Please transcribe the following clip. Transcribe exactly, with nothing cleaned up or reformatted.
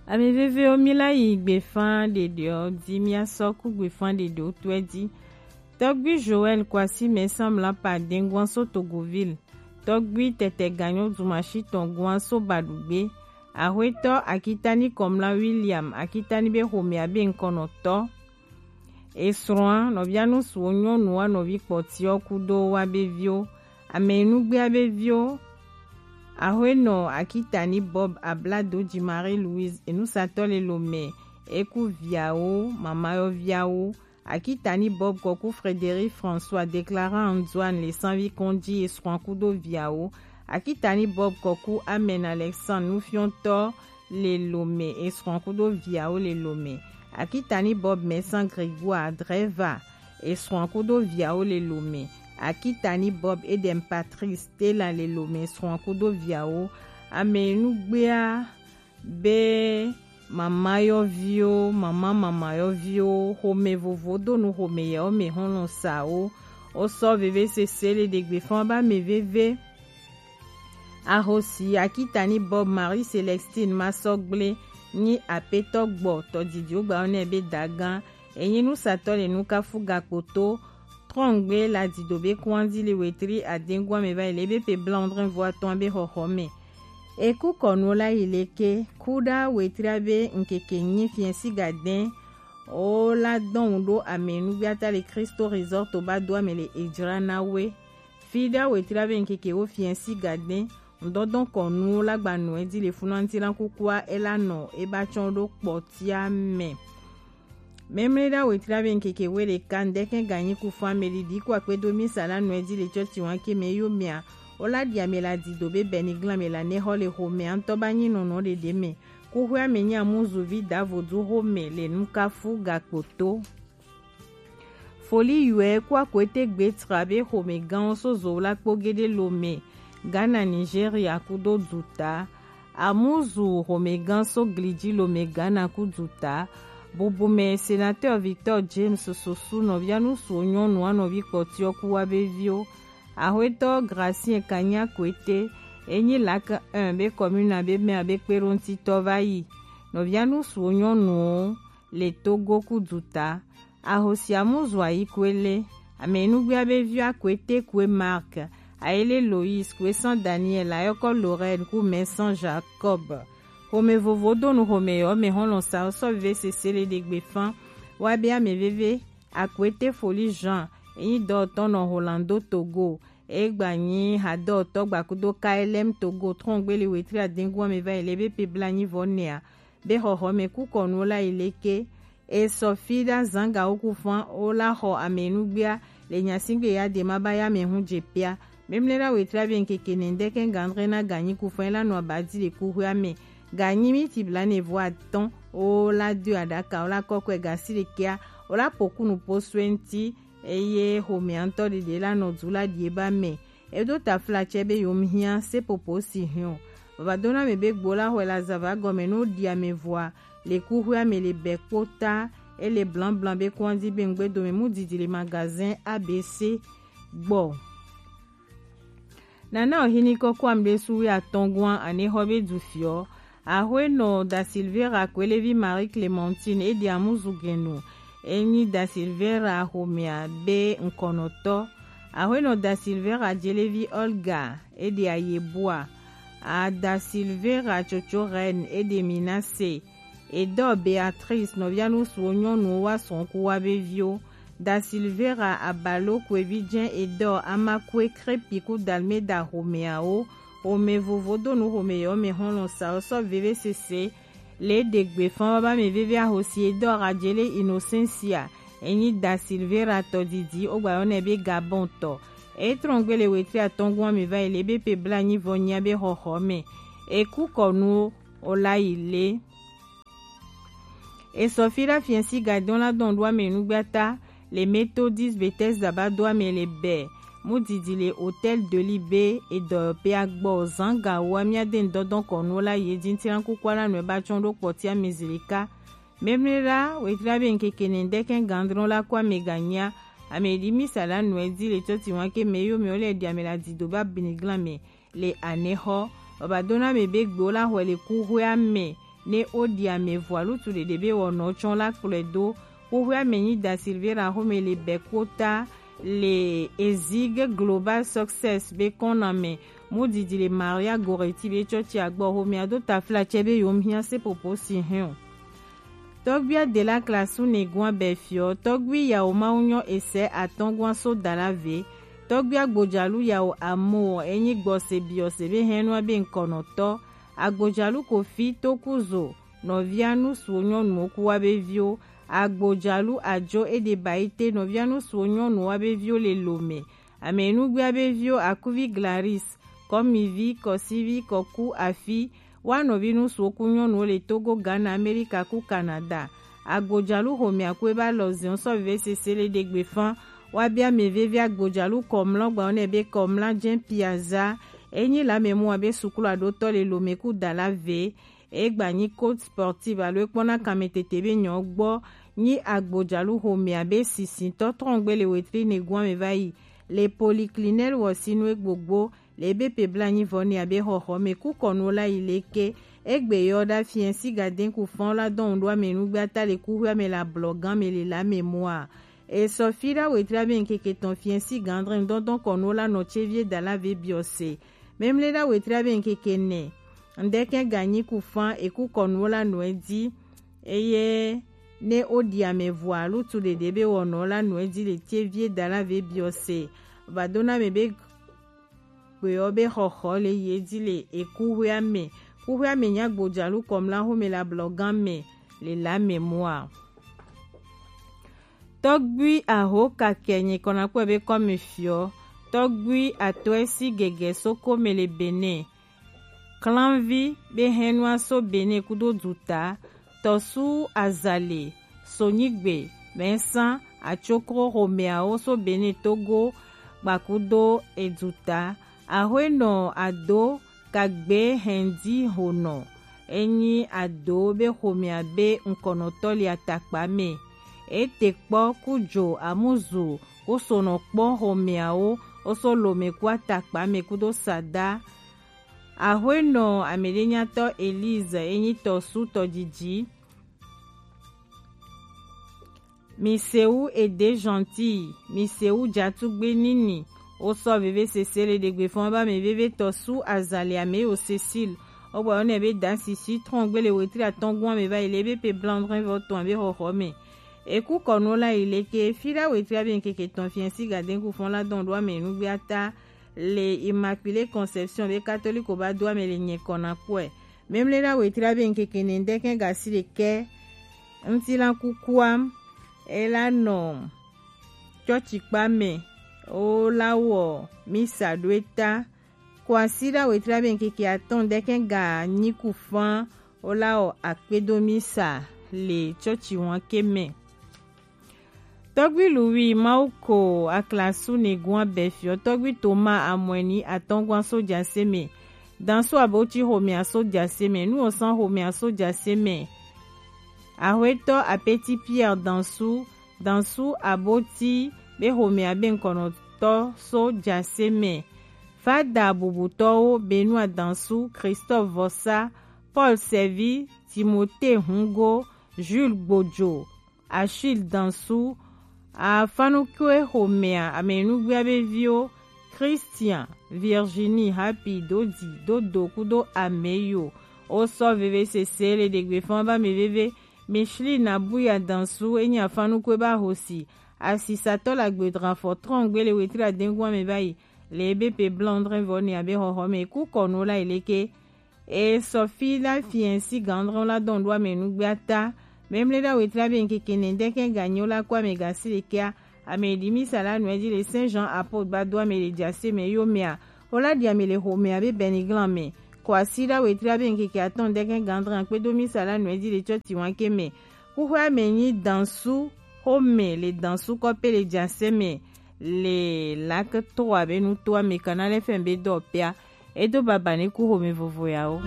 Ame vevewo, mi la yi gbefa ɖeɖewo di, mi asɔ ku gbefa ɖeɖewo tɔe di. Tɔgbi Joël Kwasi Mɛsan Mlapa Dengwan so Togoville. Tɔgbi Tɛtɛ Ganyo Dumashi tɔn Gwan so Badugbe. Ahwetɔ Akitani Kɔmla William Akitani be xomɛ abe ŋkɔnɔtɔ. Esrɔ̃a, nɔvia nusuwo nyɔnuwo, nɔvi kpɔtiwo kudo wa be viwo, ame nugbea be viwo. Ahwenɔ Akitani Bob Abladoji Marie Louise, enusatɔ le lomɛ, eku viawo, mamayɔviawo. Akitani Bob kɔku Frédéric François, Déclarant Antoine le sanvi kɔnji, esrɔ̃a kudo viawo. Akitani Bob kɔku Amen Alexandre, nufiɔtɔ le lomɛ, esrɔ̃a kudo viawo le lomɛ. Akitani Bob Mɛsan Grégoire, driver, esrɔ̃a kudo viawo le lomɛ. Akitani Bob Edem Patrice, Stella le lomɛ, esrɔ̃a kudo viawo. Ame nugbea be mamayɔviwo, mama mamayɔviwo, xomɛ vovo do nu xomɛ yawo mɛ xɔlɔ sawo. Wo sɔ veve sese le ɖegbe fɔn ba mɛ veve. Ahosi Akitani Bob Marie Célestine Masɔgble nyi apetɔ gbɔ tɔdidiwo gba nɛ be dagan. Enyi nusatɔ le nukafu gakpoto. Trɔngbe la dido be kɔnji le wetri adengua mɛ va yi le be pe blanc dre vo atɔn be xɔxɔ mɛ. Eku kɔnu la yi leke, kuda wetri be nkeke nyi fiɛnsi gadɛn. O la dɔn do ame nugbiata le Cristo Resort ba do ame le ejra na we. Fida wetri be nkeke wo fiɛnsi gadɛn. Ŋdɔdɔn kɔnu la gba nɔ edi le funu anti la kukua ela nɔ eba tsɔn do kpɔtia mɛ. Memle ɖa wetri be nkeke we ɖeka ŋdɛkɛ ganyi ku fun ame ɖiɖi ku akpedo misa la nɔ edi le tsɔtsi wan ke mɛ yo mia. O la ɖi ame la dido be bɛni glan me la ne xɔ le xomɛ antɔ ba nyi nɔnɔ ɖeɖe mɛ. Kuxwea mɛ nyi amuzuvi davodu xomɛ le nukafu gakpoto. Foli yɔɛ ku akwete gbe tra be xomɛganwo so zo la kpo gede lomɛ, Ghana, Nigeria kudo duta. Amuzu xomɛgan so gliji lomɛ Ghana ku duta. Bubumɛ sénateur Victor James Sosu nɔvia nusu nyɔnu anɔvi kpɔtiɔ ku wa be viwo. Ahwetɔ Gracien Kanya Kwete, enyi lak un be commune abe mɛ abe kpeɖoŋtitɔ va yi. Nɔvia nusu nyɔnuwo le Togo ku duta. Ahosi amuzu ayi kue le, ame nugbea be viwo Akwete kue Marc, Ayele Lois, kue san Daniel, Ayɔkɔ Lorraine ku mɛ san Jacob. Xomɛ vovo do nu xomɛ yɔ mɛ xɔlɔ sa sɔ vive sese le ɖegbe fan. Wa be ame veve, Akwete Foli Jean, enyi dɔtɔ nɔ Holando Togo, egba nyi hadɔtɔ gbakudo K L M Togo, trɔngbe le wetri adengu ame va yi le be pe bla nyi vɔ nɛa, be xɔxɔ mɛ ku kɔnu la yi leke. Esɔ fi ɖa zanga wo ku fan wo la xɔ ame nugbea le nyasingbe ya de ma ba ya mɛ hu je pia. Memle ɖa wetri abe nkeke nɛndɛ kɛ gandre na ganyi ku fan la nɔ abadi le ku hwe ame. Ganyi mi ti bla ne vo atɔn wo la do aɖaka wo la kɔkɔe gasi le kea wo la pokunu po sue ŋti. Eye xomɛ ŋtɔ ɖeɖe la nɔ du la ɖie ba mɛ. Eɖo tafla tsɛ be yewo hiã sepopo si hiɔ. Vavadona mɛ be gbo la xɔe la zava gɔme no ɖi ame vɔa le kuxuia mɛ le bɛ kpota. Ele blanblan be kɔndi be ŋgbe dome mu didi le magazin A B C gbɔ. Nana ohini kɔkɔ amɖe suwi atɔngua ane xɔ be du fiɔ. Ahuenɔ Da Silveira Kwelevi Marie Clementine edi amuzu genu. Enyi Da Silveira xomea be ŋkɔnɔtɔ. Ahuenɔ Da Silveira Jelevi Olga edi ayebua. A Da Silveira Tsotso Reine edi Minase. Edɔ Beatrice nɔvia nusuwo nyɔnuwo wa srɔ̃kuwa be viwo. Da Silveira Abalo Kwevi Jɛn Edɔ Amakue Krepi ku Dalmeda xomɛawo. Xomɛ vovo do nu xomɛ yɔ mɛ xɔlɔ sa sɔ veve sese. Le ɖe gbe fan baba mɛ veve ahosi Edɔ Rajele Innocencia. Enyi Da Silveira tɔ didi o gba yɔ nɛ be Gabon tɔ. E trɔn gbe le wetri atɔngua mi va yi le be pe bla nyi vɔ nyia be xɔxɔ mɛ. E ku kɔ nu o la yi le. Esɔ fi ɖa fiɛsi gadɔn la dɔn ɖo ame nugbata le Methodist Bethesda ba do ame le bɛ mu didi le Hôtel de Libé edɔ pe agbɔ zanga wa mia de ŋdɔdɔn kɔnu la ye din tiran kukua la nɔe ba tsɔn ɖo kpɔtia mezilika. Memle la wetri abe ŋkeke nɛndɛ kɛ gandrɔn la kɔ ame ganyia ame ɖi misa la nɔe di le tsɔti wan ke mɛ yo mɛ wo le ɖi ame la dido ba biniglan mɛ. Le anexɔ. Baba dona mɛ be gbewo la xɔe le kuxuea mɛ. Ne o ɖi ame vɔa lutu ɖeɖe be wɔnɔ tsɔ la kplɔe do. Xoxoe ame nyi Da Silveira xome le Bɛkota le Ezig Global Success be kɔname. Mu didi le Maria Goretti be tsɔtsi agbɔ xomea do tafla tsɛ be yom hiã sepopo si hɛn o. Tɔgbi Adela Klasu ne gua bɛ fiɔ, tɔgbi yawo mawu nyɔ esɛ atɔngua so dala ve, tɔgbi agbodzalu yawo amo enyi gbɔse biɔse be hɛnua be nkɔnɔtɔ, agbodzalu Kofi Tokuzo, nɔvia nusuwo nyɔnuwo ku wa be viwo, agbodzalu Ajo Edebaite, nɔvia nusuwo nyɔnuwo wa be viwo le lome, Amenugbia be viwo Akuvi Glaris, Kɔmivi, Kɔsivi, Kɔku Afi, wa nɔvi nusuwo ku nyɔnuwo le Togo, Ghana, Amerika ku Canada. Agbojalu xomea ku eba lɔ ziɔn sɔ veve sese le ɖegbe fan. Wa bia mɛ veve agbojalu kɔmlɔ gba ne be kɔmla jɛn piaza. Enyi la mɛ mu wa be suklu aɖotɔ le lome ku dala ve. Egba nyi Côte Sportive alo ekpɔna kanmɛ tete be nyɔ gbɔ nyi agbojalu xomea be sisintɔ trɔngbe le wetri ne gua me va yi le Polyclinique wɔ sinu egbogbo le ebe pe bla nyi vɔ ne abe xɔxɔ me ku kɔnu la yi leke egbe yɔ da fiɛ si gaden ku fɔn la dɔn ɖo ame nugbe ata le kuxu ame la blɔ gan me le la me mua. Esɔ fi ɖa wetri abe nkeke tɔn fiɛ si gandrin dɔndɔn kɔnu la nɔ tse vie da la ve biɔ se. Memle ɖa wetri abe nkeke nɛ. Ŋdɛkɛ ganyi ku fan eku kɔnuwo la nɔɛ di. Eye ne o ɖi ame vɔa lutu ɖeɖe be wɔnɔ la nɔɛ di le tie vie da la ve biɔ se. Vadona me be gbeɔ be xɔxɔ le ye di le eku hwea me. Ku hwea me nya gbojalu kɔmla home la blɔ gan me le la me mua. Tɔgbui aho kakɛ nyi kɔna kpɔe be kɔmi fiɔ. Tɔgbui atɔɛ si gɛgɛ so kome le Benin. Klanvi be hɛnua so Benin kudo duta. Tɔsu azali sonyigbe mɛsan atsokro homeawo so Benin Togo gbakudo eduta. Ahoenɔ ado kagbe hɛndi honɔ. Enyi ado be homea be ŋkɔnɔtɔ le atakpa me. Ete kpɔ kujo amuzu kusonɔ kpɔ homeawo oso lome ku atakpa me kudo sada. Ahoenɔ ameɖenyatɔ Elise enyi tɔsu tɔdidi. Misewu ede gentil, misewu jatugbe nini. Osɔ veve sese le ɖegbe fɔn ba me veve tɔsu azali ame yo Cécile. Ogbɔ yɔ ne be dan sisi trɔn gbe le wetri atɔn gun ame va yi le be pe blanc vɔ tɔn be xɔxɔ me. Eku kɔnu la yi leke fi ɖa wetri abe nkeke tɔn fiɛ si gaden ku fɔn la dɔn ɖo ame nugbe ata le Immaculée Conception be katoliko ba do ame le nyɛ kɔna kpɔe. Memle ɖa wetri abe nkeke ne ŋdɛkɛ gasi ɖekɛ ŋutilan kukua ela nɔ tsɔtsi kpa me o la wɔ misa ɖo eta. Ko asi ɖa wetri abe nkeke atɔn ŋdɛkɛ ga nyi ku fan o la wɔ akpedo misa le tsɔtsi wan ke me. Tɔgbi Louis Mawuko Aklasu ne gun abɛ fiɔ tɔgbi Toma Amɔni atɔngua so jase me. Dansu abotsi homea so jase me. Nu osan homea so jase me. Ahoetɔ Apeti Pierre Dansu, Dansu abotsi be homea be ŋkɔnɔtɔ so jase me. Fada bubutɔwo Benoit Dansu, Christophe Vossa, Paul Sɛvi, Timothée Hungo, Jules Gbojo, Achille Dansu, afanukue homea amenugbia be viwo, Christian, Virginie, Happy, Dodi, Dodo kudo Ameyo. Osɔ veve sese le ɖegbe fɔn ba me veve. Micheline Abuya Dansu enyi afanukue ba hosi. Asisatɔ la gbedran fɔ trɔn gbe le wetri adengun ame ba yi. Le ebe pe blanc dre vɔ ne abe xɔxɔ me ku kɔnu la yi leke. E sɔ fi la fiɛ si gandrɔn la dɔn ɖo ame nugbe ata. Memle ɖa wetri abe nkeke ne ŋdɛkɛ ganyo la kɔ ame gasi ɖekɛa. Ame ɖi misa la nɔɛ di le Saint Jean Apôtre ba do ame le jase me yo mea. O la ɖi ame le homea be Beniglan me. Kɔ asi ɖa wetri abe nkeke atɔn ŋdɛkɛ gandrɔn kpedo misa la nɔɛ di le tsɔtsi wanke me. Kuxɔe ame nyi Dansu home le Dansu kɔpe le jase me. Le lake to abe nuto ame kana le fɛn be dɔ pea. Edo baba ne ku home vovo yawo.